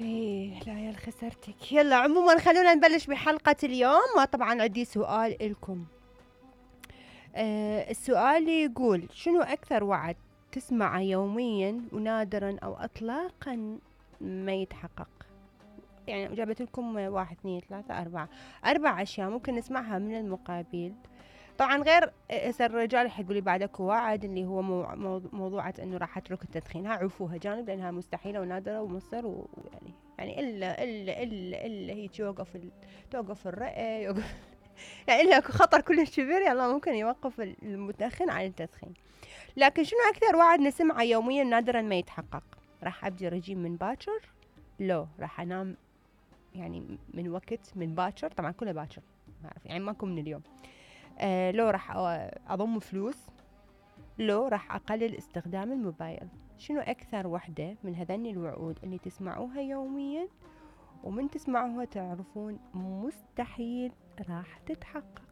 ايه لا يا خسرتك. يلا عموما خلونا نبلش بحلقة اليوم. طبعا عندي سؤال إلكم. السؤال يقول شنو أكثر وعد تسمعه يوميا ونادرا أو إطلاقا ما يتحقق؟ يعني جابت لكم 1 2 3 4 4 أشياء ممكن نسمعها من المقابل. طبعا غير هسه الرجال حيقولي بعد اكو وعد اللي هو موضوعة انه راح اترك التدخين. ها عرفوها جانب لانها مستحيلة ونادرة ومصر ويعني الا هيك توقف الرئة يوقف يعني الا اكو خطر كلش كبير يلا ممكن يوقف المدخن عن التدخين. لكن شنو اكثر وعد نسمعه يوميا نادرا ما يتحقق؟ راح ابدي رجيم من باكر، لو راح انام يعني من وقت من باكر، طبعا كله باكر ما اعرف يعني ماكو من اليوم. لو راح اضم فلوس، لو راح اقلل استخدام الموبايل. شنو اكثر وحدة من هذني الوعود اللي تسمعوها يوميا ومن تسمعوها تعرفون مستحيل راح تتحقق؟